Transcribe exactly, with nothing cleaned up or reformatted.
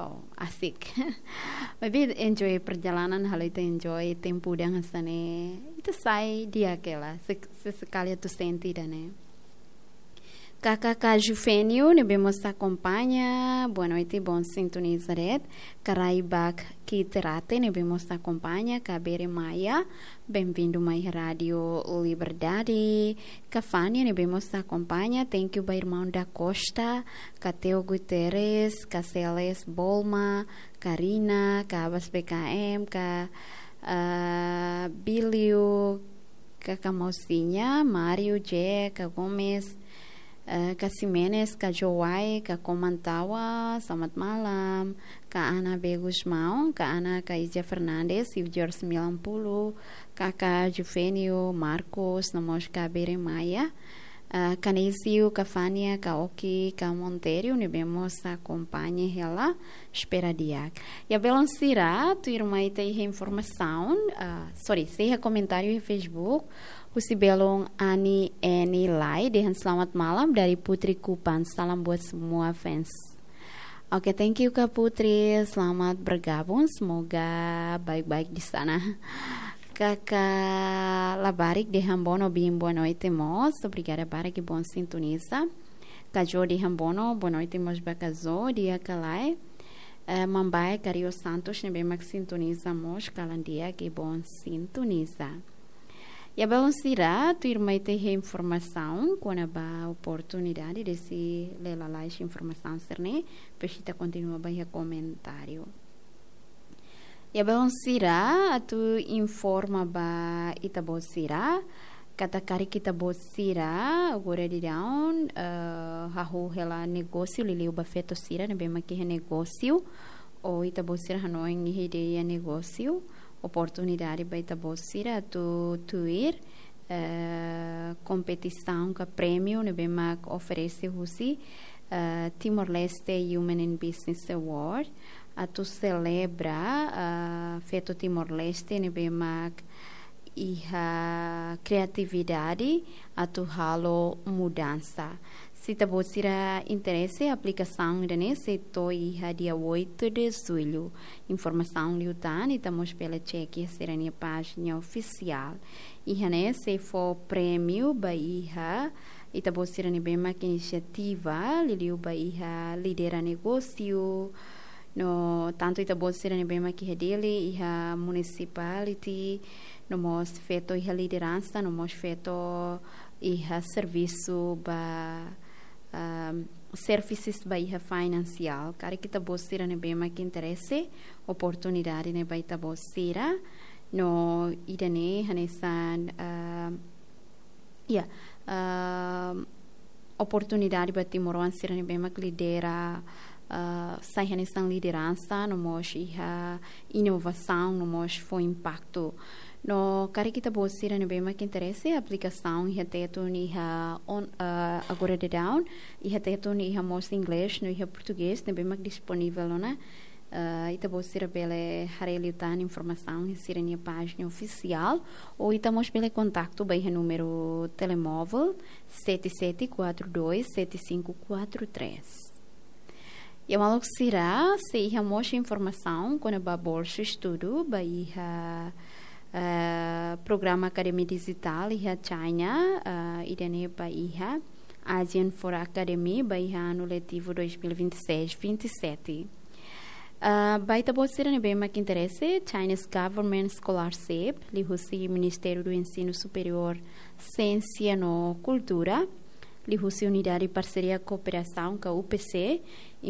Oh, asik. Maybe enjoy perjalanan, halo ita enjoy tempu dan hanesan ne'e. Ita sai di'ak hela, se, sesekali atu sente ida-ne'e. Kaka Jufenio, ne'ebé mós akompaña, boa noite, bom sintoniza de'it. Karaibak Kiterate, ne'ebé mós akompaña, Kabere Maia, bem-vindo mai Rádio Liberdade. Kafania, ne'ebé mós akompaña, thank you ba irmaun da Costa, Kateo Guterres, Kaseles Bolma, Karina, Kabas B K M, ka, ah, Bilio, Kaka Mosinha, Mario, J, Ka Gomes, eh, Ka Ximenes, Ka Jowai, Ka Komantawa, selamat malam, Ka Ana B Gusmão, Ka Ana, Ka Ija Fernandes, Iu George sembilan puluh, Kaka Jufenio, Marcos, no mós Kabere Maia, eh, Ka Neisio, Ka Fania, Ka Oki, Ka Monterio, ne'ebé mós akompaña hela, espera di'ak. Ya belun sira, tuirmai ita iha informasaun, ah, sorry, sei iha komentáriu iha Facebook, husi belun Ani Eni Lai, dehan selamat malam dari Putri Kupang, salam buat semua fans. Oke, thank you Ka Putri, selamat bergabung, semoga baik-baik di sana. Kaka Labarik dehan boa noite, boa noite mós, obrigada barak, bom sintoniza. Ka Jo dehan boa noite, boa noite mós ba Ka Jo, di'ak ka lae. Eh, Mambae Cario Santos, ne'ebé mak sintoniza mós, kalan di'ak, bom sintoniza. Ya belun sira, tuirmai ita iha informasaun kona-ba oportunidade, desi lee lalais informasaun sira-ne'e, depois ita kontinua ba iha komentáriu. Ya belun sira, atu informa ba ita-boot sira, katak karik ita-boot sira, agora daudaun, eh, hahú hela negósiu, liuliu ba feto sira ne'ebé mak iha negósiu, ou ita-boot sira hanoin iha ideia negósiu, oportunidade ba ita-boot sira atu tuir, eh, kompetisaun ka prémiu ne'ebé mak oferese husi, eh, Timor-Leste Women in Business Award, atu selebra, eh, feto Timor-Leste ne'ebé mak iha kreatividade atu halo mudansa. Se ita-boot sira interese, aplikasaun ida-ne'e sei to'o iha dia oito de julho. Informasaun liután, ita mós bele cek iha sira-nia pájina ofisiál. Iha ne'e sei fó prémiu ba iha ita-boot sira ne'ebé mak inisiativa, liuliu ba iha lidera negósiu, no tantu ita-boot sira ne'ebé mak iha Dili, iha municipality, no mós feto iha lideransa, no mós feto iha servisu ba, ahm, services ba iha finansiál. Karik ita-boot sira ne'ebé mak interese, oportunidade ne'e ba ita-boot sira, no ida-ne'e hanesan, ahm, ya, ahm, oportunidade ba timoroan sira ne'ebé mak lidera, ah, sai hanesan lideransa, no mós iha inovasaun, no mós fó impaktu. No karik ita-boot sira ne'ebé mak interese, aplikasaun iha Tetun iha on, ah, agora daudaun, iha Tetun iha mós inglés, no iha portugés, ne'ebé mak disponivel ona. Ah, ita-boot sira bele haree liután informasaun iha sira-nia pájina ofisiál, ou ita mós bele kontaktu ba iha númeru telemóvel sete sete quatro dois sete cinco quatro três. Ya maluk sira, sei iha mós informasaun kona-ba bolsa estudu ba iha, eh, programa akademia dijitál iha China, eh, ida-ne'e ba iha Asian for Academy ba iha anu letivu dois mil e vinte e seis vinte e sete. Ah, ba ita-boot sira ne'ebé mak interese, Chinese Government Scholarship, liuhusi Ministériu do Ensino Superior, Siénsia no Kultura, liuhusi Unidade Parseria Kooperasaun ka U P C, informa